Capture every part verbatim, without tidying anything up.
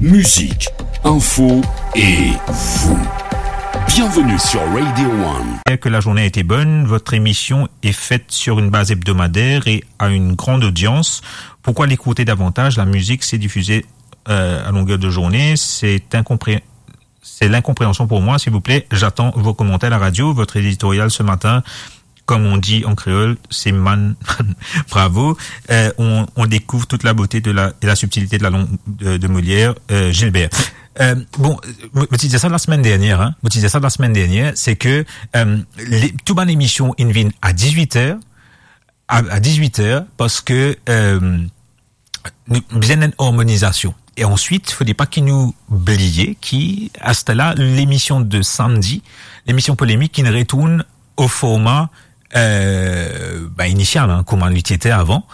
Musique, info et vous. Bienvenue sur Radio One. Que la journée a été bonne, votre émission est faite sur une base hebdomadaire et a une grande audience. Pourquoi l'écouter davantage ? La musique s'est diffusée, euh, à longueur de journée. C'est incompré-, c'est l'incompréhension pour moi. S'il vous plaît, j'attends vos commentaires à la radio. Votre éditorial ce matin, comme on dit en créole, c'est man, man, bravo. Euh, on, on découvre toute la beauté de la, et la subtilité de la langue de, de Molière, euh, Gilbert. Euh, bon, mo, mo ti dir sa lasemenn dernier, hein. Mo ti dir sa lasemenn dernier, c'est que, euh, les, tout bann émission, inn vinn à dix-huit heures, à, à dix-huit heures, parce que, euh, nou bizin enn armonizasion. E answit, fode pa ki nou bliye ki, aster la, lemision de samdi, lemision polemik, inn retourn o forma, euh, ba, inisial, hein, kouma li ti ete avan,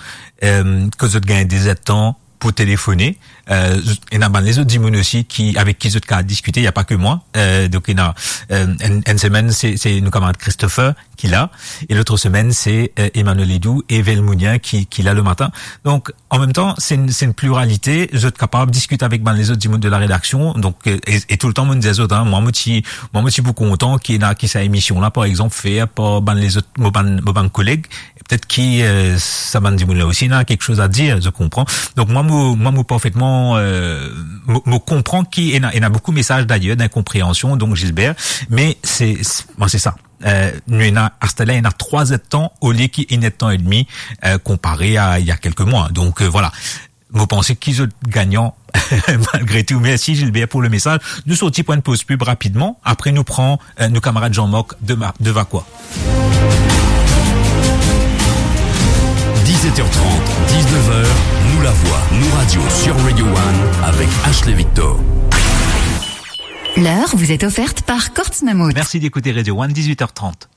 euh, kot zot gagn de zertan pou telefone. Euh, ena bann lezot dimoun osi ki, avek ki zot kav diskite, y a pas que moi. Euh, donk, ena, euh, enn, enn semenn, se, se nou kamarad Christopher ki la, e lot semenn, se, euh, Emmanuel Edou e Velmounien ki, ki la le matin. Donk, an mem tan, se enn, se enn pliralite, zot kapav diskit avek bann lezot dimoun de la rédaction, donk, euh, e, e toultan, mo dir zot, hein, mwa, mo ti, mwa, mo ti pou kontan ki ena, ki sa emision la, par exanp, fer par bann lezot, mo bann, mo bann koleg, petet ki, euh, sa bann dimoun la osi ena kiksoz a dir, zot konpran. Donk, mwa, mo, mwa, mo parfetman, euh, mo, mo konpran ki ena, ena boukou mesaz, d'ailleurs, d'incompréhension, donk, Gilbert, me se, se, bon, se sa. Euh, nou ena, aster la, ena trwa zertan, olie ki enn ertan edmi, euh, konpare a, il y a quelques mois. Donk, euh, voilà. Mo panse ki zot gagnan, malgre tou. Mersi, Gilbert, pou le mesaz. Nou sorti pou enn poz pib rapidman. Apre, nou pran, euh, nou kamarad Jean-Marc de Ma-, de Vacoas. Dix-sept heures trente, dix-neuf heures, nous la voix, nous radio sur Radio One avec Ashley Victor. L'heure vous est offerte par Courts Mammouth. Merci d'écouter Radio One, dix-huit heures trente.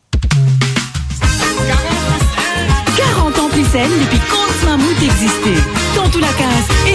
Quarante ans plus N depuis Courts Mammouth existait. Dans tout la case.